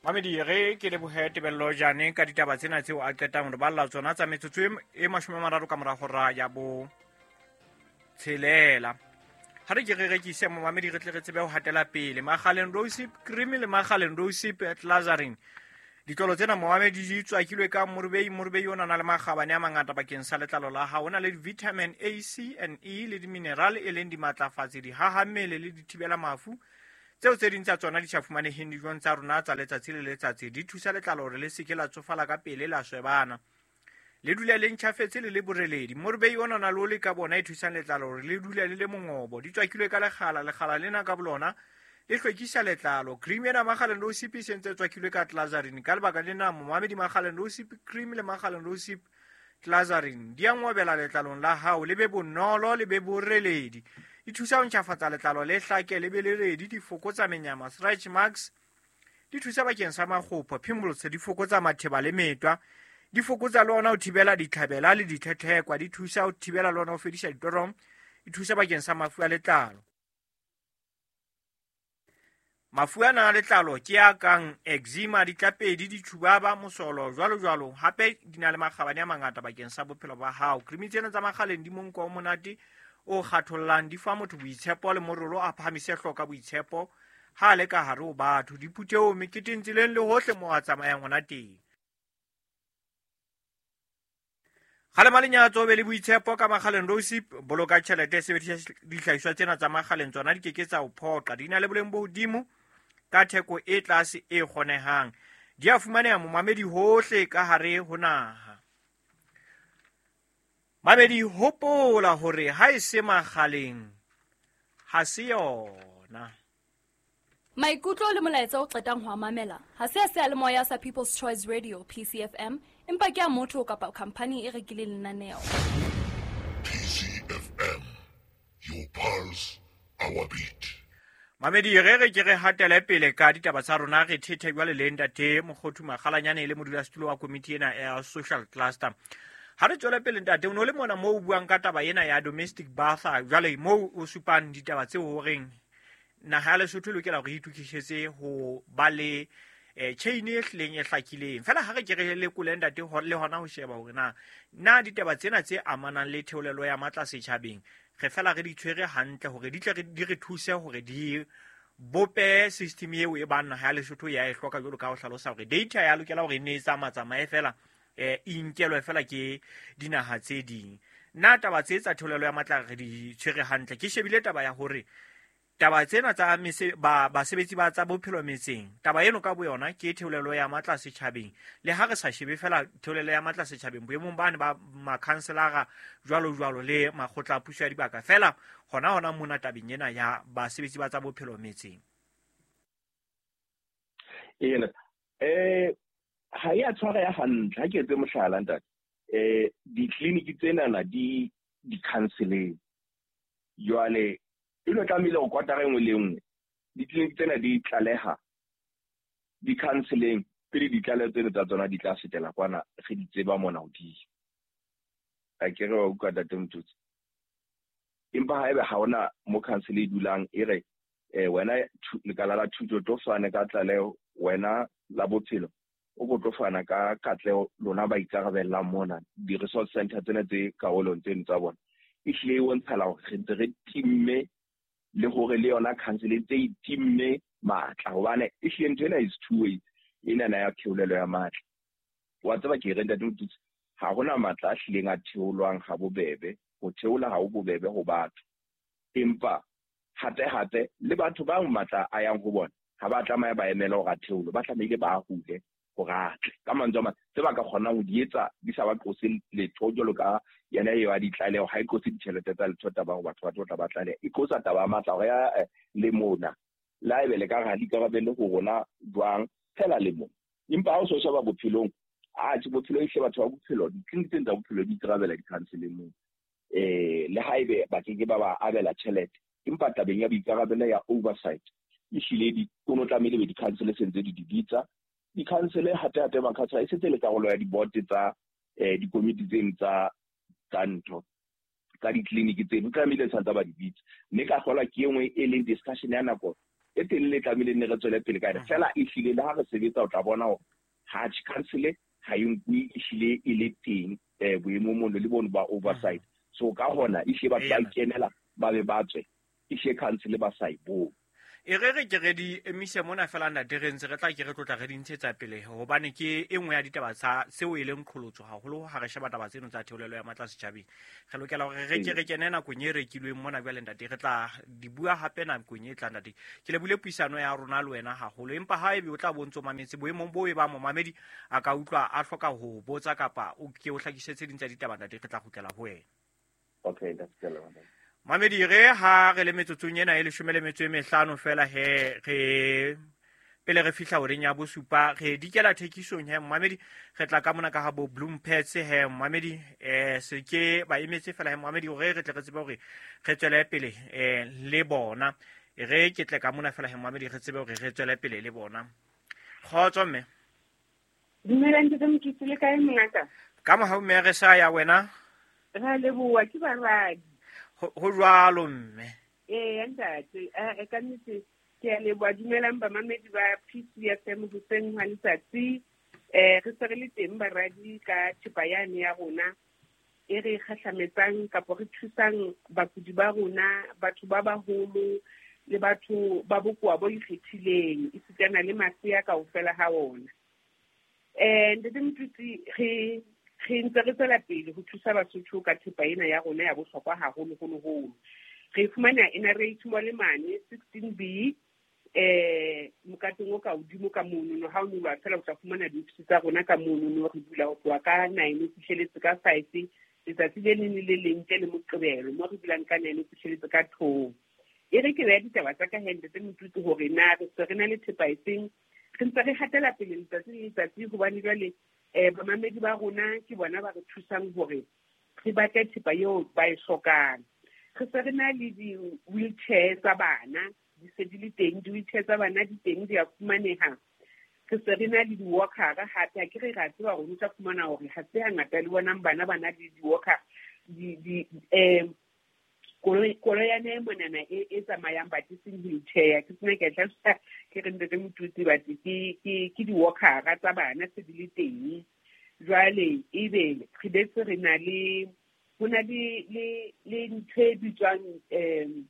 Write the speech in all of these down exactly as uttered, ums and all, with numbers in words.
Mamedi, re ke lebohe Tebello Jane ka ditaba tsena tseo a qetang re balla tsona tsa metsotso e mashome a mararo ka mora hora ya bo tshelela. Ha re ke re rekise momamedi, re tle re tsebe ho hatela pele. Makgaleng Rosip Cream le Makgaleng Rosip Glazarin, ditlolo tsena momamedi di tswakilwe ka morubei. Morubei o na le makgabane a mangata bakeng sa letlalo la hao. O na le vitamin A, C and E le di-mineral e leng dimatlafatsi, dihahammele le dithibela mafu tseo tse ding tsa tsona di sa fumaneheng dijong tsa rona tsa letsatsi le letsatsi. Di thusa letlalo hore le seke la tsofala ka pele, la swebana, le dule le ntjhafetse le le boreledi. Morubei ona na le oli ka bona e thusang letlalo hore le dule le le mongobo. Di tswakilwe ka lekgala, lekgala lena ka bolona le hlwekisa letlalo. Cream ena Makgaleng Rosip e sentse tswakilwe ka Glazarin. Ka lebaka lena momamedi, Makgaleng Rosip Cream le Makgaleng Rosip Glazarin di a ngobela letlalong la hao, le be bonolo, le be boreledi. Di thusa ho ntjhafatsa letlalo, le hlake, le be le redi. Di fokotsa menyama, stretch marks, di thusa bakeng sa makgopho, pimples, di fokotsa matheba le metwa, di fokotsa le ona ho thibela ditlhabela le ditlhetlhekwa, di thusa ho thibela le ona ho fedisa ditorong, di thusa bakeng sa mafu a letlalo. Mafu ana a letlalo ke a kang eczema, ditlapedi, ditjhubaba, mosolo, jwalo jwalo. Hape di na le makgabane a mangata bakeng sa bophelo ba hao. Cream tsena tsa Makgaleng di monko o monate o kgathollang, di fa motho boitshepo le morolo, a phahamise hloka boitshepo ha a le ka hare ho batho, diphuthehong, meketeng, tseleng le hohle moo a tsamayang hona teng. Kgalema lenyatso, be le boitshepo ka Makgaleng Rosip. Boloka tjhelete, sebedisa dihlahiswa tsena tsa Makgaleng, tsona di keke tsa o phoqa. Di na le boleng bo hodimo ka theko e tlase e kgonehang. Di a fumaneha momamedi hohle ka hare ho naha. Mamedi, hopola hore ha e se Makgaleng ha se yona. Maikutlo le molaetsa o qetang ho a mamela ha se a seyalemoya sa People's Choice Radio P C F M, empa ke a motho kapa khamphani e rekileng lenaneo. P C F M, your pulse, our beat. Mamedi, re re ke re hatele pele ka ditaba tsa rona, re thethe jwale le ntate Mokgothu Makgalanyane le modulasetulo wa komiti ena ya social cluster. Ha re tswele pele ntate, o no le mona moo o buang ka taba ena ya domestic bath, jwale moo o supang ditaba tseo horeng naha ya Lesotho e lokela hore e itokisetse ho ba le eh, chain e hlileng e hlakileng. Fela ha re ke re lekole ntate le hona ho sheba hore na na ditaba tsena tse amanang le theolelo ya matla setjhabeng re fela re di tshwere hantle hore di tle di re thuse hore di bope system eo e bang naha ya Lesotho ya e hloka, jwalo ka ho hlalosa hore data ya lokela hore e ne e tsamatsamaye fela, eh, e nkelwe fela ke dinaha tse ding. Na taba tse tsa theolelo ya matla re di tshwere hantle? Ke shebile taba ya hore taba tsena tsa mese, ba basebetsi ba tsa bophelo metseng, taba eno ka boyona ke theolelo ya matla setjhabeng. Le ha re sa shebe fela theolelo ya matla setjhabeng boemong bane ba makhanselara jwalo jwalo le makgotla a puso ya dibaka, fela hona hona mona tabeng ena ya basebetsi ba tsa bophelo metseng. Ena eh ha ya tshwara ya hantle. Ha ke etse mohlala ntate, eh ditleliniki tsenana di di-counseling jwale e lo tlamehile ho kwatara e nngwe le nngwe ditleliniki tsena di tlaleha di-counseling pele ditlaleho tseno tsa tsona di tla fetela kwana re di tseba mona hodimo. A ke re wa utlwa ntate Mototsi? Empa haebe ha hona mo council e dulang e re eh wena lekala la thuto tlo fane ka tlaleho, wena la bophelo o ko tlo fana ka katleho, lona ba ikarabellang mona di-resource center tsena tse karolong tseno tsa bona, e hlile e bontshala hore re ntse re timme le hore le yona council e ntse e timme matla, hobane e hlile ntho ena is two ways enana ya theolelo ya matla. Wa tseba ke re ntate Mototsi, ha hona matla a hlileng a theolwang ha bobebe. Ho theola ha ho bobebe ho batho, empa hape hape le batho ba matla a yang ho bona ha ba tlameha ba emele hore a theolwe, ba tlamehile ba hule hore a tle. Ka mantswe a mang, tse ba ka kgonang ho di etsa di sa ba qose letho, jwalo ka yena eo a ditlaleho, ha e qose ditjhelete tsa letho taba hore batho ba tlo tla ba tlaleha, e qosa taba ya matla hore ya le mona le haebe le ka re ha di ikarabelle ho rona jwang fela le mona. Empa ha o so sheba bophelong, atjhe bophelo ehle batho ba bophelo, ditleliniki tsena tsa bophelo di ikarabela di-counseling moo, eh le haebe ba ke ke ba ba abela tjhelete, empa tabeng ya boikarabelo ya oversight e hlile di o no tlamehile be di-council sentse di di bitsa di-council hape hape makhansela e setse le karolo ya di-board tsa eh dikomiti tseno tsa tsa ntho tsa ditleliniki tseno, tlamehile santse ba di bitsa. Mme ka kgolwa ke e nngwe e leng discussion ya nako e telele tlamehile ne re tswele pele ka yona. Fela ehlile le ha re sebetsa o tla bona hore ha council ha e nkuwe ehlile e le teng eh boemong mono le bono ba oversight. So ka hona ehlile batho ba ikenela ba be ba tswe ehlile council ba sa e bone. E re re ke re di emise mona fela ntate re ntse re tla ke re tlotla re di ntshetsa pele hobane ke e nngwe ya ditaba tsa seo e leng qholotso haholo ha re sheba taba tseno tsa theolelo ya matla setjhabeng. Re lokela hore re ke re kene nakong e rekilweng mona jwale ntate, re tla di bua hape nakong e tlang ntate. Ke lebile puisano ya rona le wena haholo, empa ha ebe o tla bontso mametse boemong bo e ba momamedi a ka utlwa a hloka ho botsa kapa o ke o hlakisetse ding tsa ditaba ntate, re tla kgutlela ho wena. Okay, that's the one. Mamedi re ha re le metsotsong ena e leshome le metso e mehlano fela he re pele re fihla horeng ya bosupa re dikela thekisong he mamedi re tla ka mona ka ha bo Bloom Pets he mamedi eh se ke ba emetse fela he mamedi hore re tle re tsebe hore re tswele pele eh le bona re ke tle ka mona fela he mamedi re tsebe hore re tswele pele le bona. Kgotso mme. Dumela ntate Mokitsi, le kae mongaka? Ka mohau mme re sa ya wena. Ra leboha ke baradi. Ho jwalo mme. Ee ntate, e ka nnete ke a leboha. Dumelang bamamedi ba P C F M hoseng hwa letsatsi. Eh re se re le teng baradi ka thepa yane ya rona e re kgahlametsang kapo re thusang bakudi ba rona, batho ba baholo le batho ba bokowa bo ikgethileng, esitana le masea kaofela ha ona. Eh ntate Motutsi, re re ntse re tswela pele ho thusa Basotho ka thepa ena ya rona ya bohlokwa haholo-holo-holo. Re fumana N R H mole mane sixteen B eh mokatong o ka hodimo ka monono. Ha o nyoloha fela o tla fumana diofisi tsa rona ka monono. Re bula ho tloha ka nine ho fihleletse ka five letsatsi le leng le le leng ntle le Moqebelo, mo re bulang ka nine ho fihleletse ka two. E re ke beha ditaba tsa ka he ntate Motutsi hore na re se re na le thepa efeng. Re ntse re hatela pele letsatsi le letsatsi hobane jwale eh bamamedi ba rona ke bona ba re thusang hore re batle thepa eo ba e hlokang. Re se re na le di-wheelchair tsa bana, di se di le teng, di-wheelchair tsa bana di teng di a fumaneha. Re se re na le di-walker hape, ha ke re ra tseba hore o tla fumana hore ha se hangata le bonang bana ba na le di-walker di di eh koloi yane monana e e tsamayang but e seng wheelchair. Ke sena ke a hlalosa ke re ntate Motutsi but ke ke ke di-walker tsa bana se di le teng. Jwale ebe re betse re na le ho na le le le ntho e bitswang um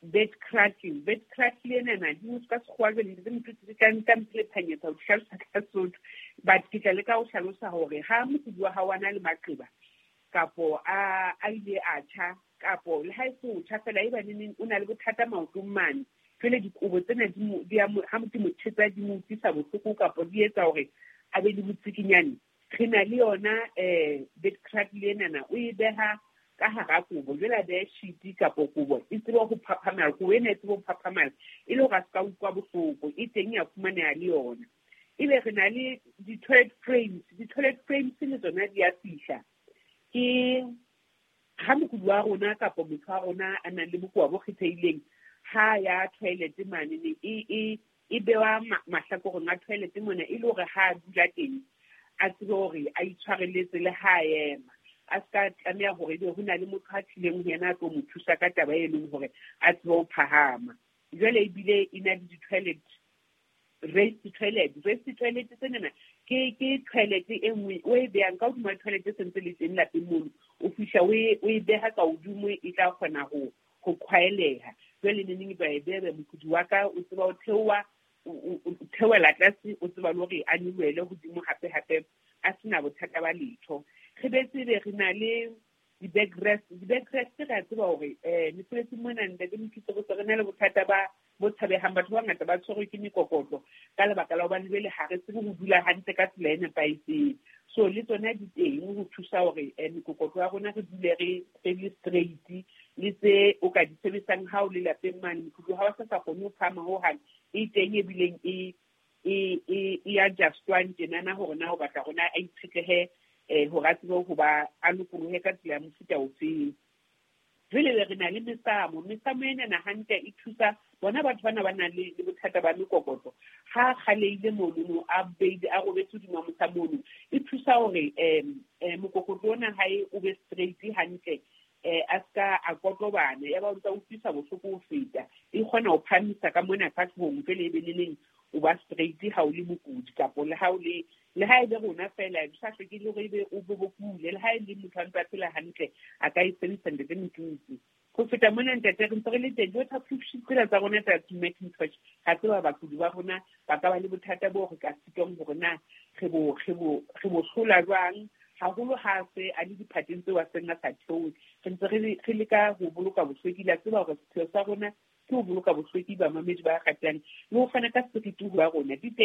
bed cracking. Bed cracking enana di motho ka sekgowa jwale ntate Motutsi ka nka mpelephanyetsa ho hlalosa ka Sesotho, but ke tla leka ho hlalosa hore ha mokudi wa hao a na le maqeba kapo a a ile a tjha kapo le ha e se ho tjha fela e ba neneng o na le bothata maotong mane, jwale dikobo tsena di mo di a mo ha motho mo thetsa di mo utlwisa bohloko kapo di etsa hore a be le botsikinyane. Re na le yona eh bed crack le enana o e beha ka hara kobo, jwale a behe sheet kapo kobo e tsebe ho phaphamala, kobo ena e tsebe ho phaphamala e le hore a se ka utlwa bohloko. E teng ya fumaneha le yona. Ebe re na le di-toilet frames. Di-toilet frames le tsona di a fihla. Ke ha mokudi wa rona kapo motho wa rona a nang le bokowa bo kgethehileng ha ya toilet mane ne e e e bewa mahlakoreng a toilet mona e le hore ha a dula teng a tsebe hore a itshwareletse le ha a ema, a ska tlameha hore ebe ho na le motho a tlileng ho yena a tlo mo thusa ka taba e leng hore a tsebe ho phahama. Jwale ebile e na le di-toilet raised toilet. Raised toilet tsenana ke ke toilet e nngwe o e behang ka hodima toilet e sentse le teng lapeng mono, o fihla o e o e beha ka hodimo e tla kgona ho ho qhwaeleha. Jwale neneng ba e beha mokudi wa ka o tseba o theoha o theohela tlase, o tseba le hore a nyolohele hodimo hape hape a sena bothata ba letho. Re betse be re na le di-backrest. Di-backrest re a tseba hore eh mesebetsing mona ntate Mokitsi re se re na le bothata ba bo tshabehang, batho ba bangata ba tshwerwe ke mekokotlo ka lebaka la hobane jwale ha re tsebe ho dula hantle ka tsela e nepahetseng. So le tsona di teng ho thusa hore mekokotlo ya rona re dule re re le straight, le tse o ka di sebedisang ha o le lapeng mane mokudi ha o sa sa kgone ho phahama hohang, e teng ebileng e e e e adjustwang tjenana hore na o batla hore na a itshetlehe eh hore a tsebe ho ba a lokolohe ka tsela ya mofuta ofeng. Jwale re na le mesamo. Mesamo enana hantle e thusa bona batho bana ba nang le bothata ba mekokotlo. Ha kgaleile monono a beile a robetse hodima mosamo ono, e thusa hore um mokokotlo ona hae o be straight hantle, eh a ska ka a kotlobana ya ba o ntsa utlwisa bohloko ho feta. E kgona ho phahamisa ka mona ka hloohong jwale e be le neng o ba straight ha o le mokudi kapo le ha o le le ha e be rona fela sa hloke le hore ebe o bo bokule le ha e le motho a ntse a phela hantle a ka e sebedisa ntate Motutsi. Ho feta mona ntate re ntse re le teng di-waterproof sheet tsena tsa rona tsa Macintosh ga tseba bakudi ba rona ba ka ba le bothata bo re ka sitwang hore na re bo re bo re bo hlola jwang haholo ha se a le diphateng tseo a seng a sa theohe. Re ntse re re leka ho boloka bohlweki la tseba hore sepheo sa rona ke ho boloka bohlweki bamamedi ba ratang le ho fana ka seriti ho ba rona di teng.